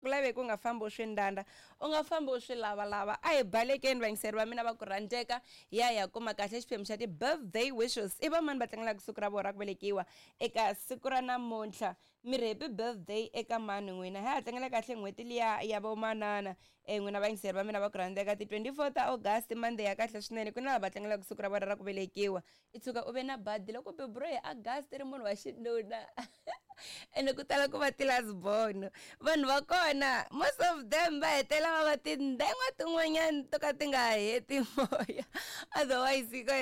Ku laveki u nga fambi u swi ndanda, u nga fambi u swi lavalava. A hi balekeni vayingiseri va mina va ku rhandzeka, hi ya hi ya kuma kahle xiphemu xa ti-birthday wishes. I va mani va tlangelaka siku ra vona ra ku velekiwa eka siku ra namuntlha? Mi ri happy birthday eka mani n'wina? Ha ha tlangela kahle n'hweti liya ya vomanana. E n'wina vayingiseri va mina va ku rhandzeka, ti-24 ta August, Monday ya kahle swinene. Ku na lava va tlangelaka siku ra vona ra ku velekiwa. I tshuka u ve na badi loko beburiwe hi August ri munhu wa xinuna. Ene ku tala ku va ti-last born. Vanhu va kona most of them va hetelela va va tindengwa tin'wanyana to ka ti nga heti moya. Otherwise ko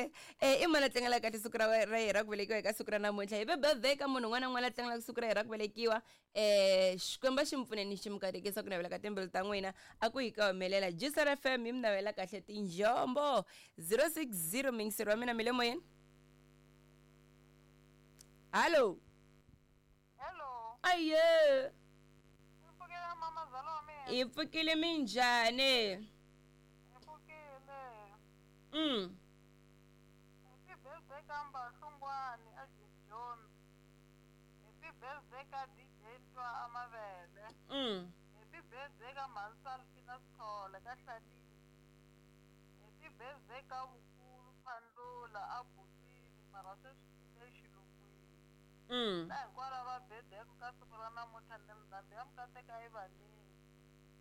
i mani a tlangelaka kahle siku ra ra yena ra ku velekiwa eka siku ra namuntlha? Happy birthday ka munhu un'wana na un'wana la tlangelaka siku ra yena ra ku velekiwa. Xikwembu a xi mi pfuneni xi mi katekisa ku navela ka timbilu ta n'wina a ku yi ka humelela. Juicer FM yi mi navela kahle tinjombo. 060 muyingiseri wa mina mi le moyeni. Hallo. Hello. Aye. Mi pfukile mamazala wa mina. Hi pfukile minjhani? Hi pfukile. Happy birthday ka Mbahlungwani a Jones. Happy birthday ka DJ Ntwa a Mavele. Happy birthday ka Mhani Salfina Sithole ka Hlanini. Happy birthday ka Vukulu Phandlula a Butwini mara sweswi i le xilungwini. Na hinkwavo lava birthday-ku ka siku ra namuntlha ni ndhambi ya mikateka yi va nini.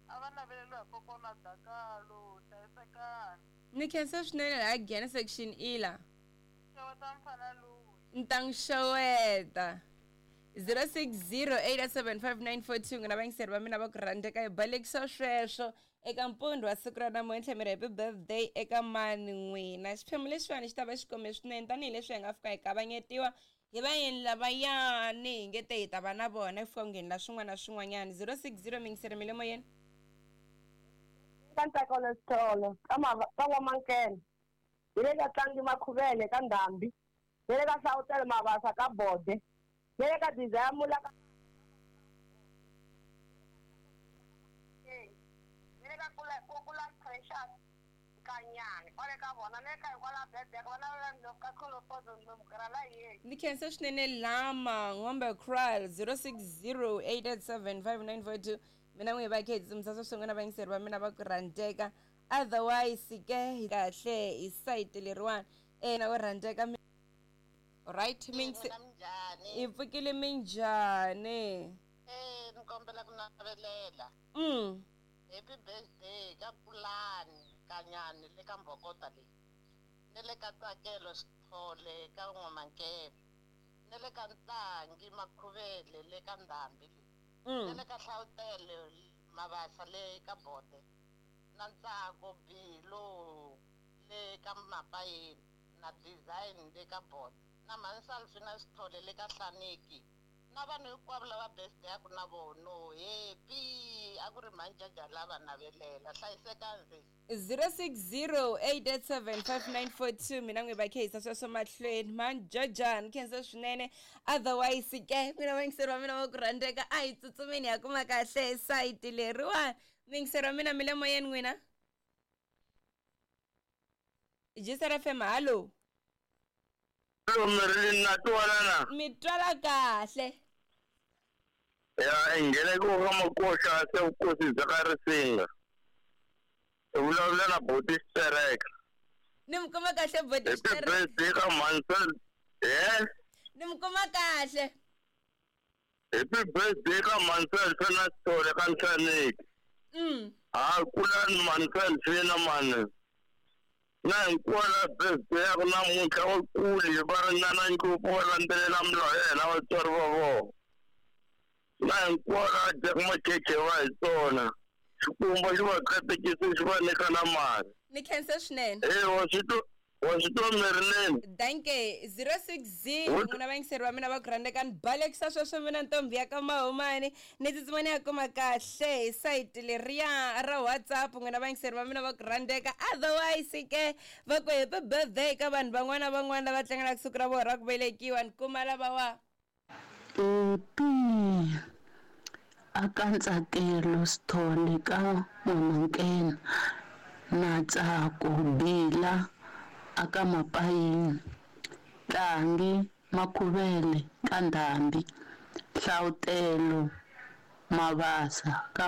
A va naveleriwa hi kokwana Dakalo, hlayisekani. Ni khensa swinene laha Giyani section ila. Xeweta mfana loyi. Ni ta n'wi xeweta. 0608755942 n'wina vayingiseri va mina va ku rhandzeka hi balekisa sweswo eka mpundzu wa siku ra namuntlha mi ri happy birthday eka mani n'wina. Xiphemu lexiwani xi ta va xi kome swinene tanihileswi hi nga fika hi kavanyetiwa hi vayeni lavayani hi nge te hi ta va na vona ku fika ku nghenela swin'wana na swin'wanyana. 060 muyingiseri mi le moyeni. Ka Ntsakelo Sithole ka ka N'wamankena hi le ka Tlangi Makhuvele ka Ndhambi hi le ka Hlawutele Mabasa ka Bode hi le ka Desire Mula ka hi le ka Kula Kula Precious Kanyani kwale ka vona le ka hikwalaho birthday ka vona va ndlopfu ka Kholopozo ndlopfu ra la yeni. Ni khensa swinene lama Ngombe Kraal 0608875942 mina n'wi va khe tsumisa swin'we na vayingiseri va mina va ku rhandzeka. Otherwise ke kahle hi site leriwani na ku rhandzeka. Right minjhani? Hi pfukile minjhani? Ni kombela ku navelela. Happy birthday ka Pulani Kanyani le ka Mbhokota leyi. Ni le ka Tsakelo Sithole ka N'wamankele. Ni le ka Ntlangi Makhuvele le ka Ndhambi leyi. Ni le ka Hlawutele Mabasa le ka Bode. Na Ntsako Bilo le ka Mapayeni na Design le ka Bode. Na Mhani Salfina Sithole le ka Hlaniki. Na vanhu hinkwavo lava birthday ya ku na vono happy a ku ri mhani lava navelela hlayisekani 0608875942 mina n'wi va khehisa sweswo mahlweni mhani ni khensa swinene. Otherwise ke n'wina vayingiseri va mina va ku rhandzeka a hi tsutsumeni ya kuma kahle sayiti leriwani. Muyingiseri wa mina mi le moyeni n'wina. Juicer FM hallo. Marilyn na twala na. Mi twala kahle. Ya ingene ku ka makoxa se vukosi bya ka Risinga. I vulavula na Boti Xitereka. Ni mi kuma kahle Boti Happy Xitereka. birthday ka Mansell. Yes. Ni mi kuma kahle. Happy birthday ka Mansell Fena Sithole ka Nhlaneki. Ha kulani Mansell Fena mani. Na hinkwala birthday ya ku namuntlha va kuli va ringana ngopfu va landzelela milawu ya hina vatswari va vona. Na hinkwala dyaku makhekhe va hi tsona. Xikwembu xi va katekisa xi va nyika na mali. Ni khensa swinene. Wa swi twa wa swi twa Marilyn. Danke 060 n'wina vayingiseri va mina va ku rhandzeka ni balekisa sweswo mina ntombi ya ka Mahumani ni tsutsuma ni ya kuma kahle hi sayiti leriya ra WhatsApp n'wina vayingiseri va mina va ku rhandzeka. Otherwise ke va ku happy birthday ka vanhu van'wana van'wana lava tlangelaka siku ra vona ra ku velekiwa ni kuma lavawa. Happy aka Ntsakelo Sithole ka N'wamankena na Ntsako Bila aka Mapayini Tlangi Makhuvele ka Ndhambi Hlawutelo Mabasa ka.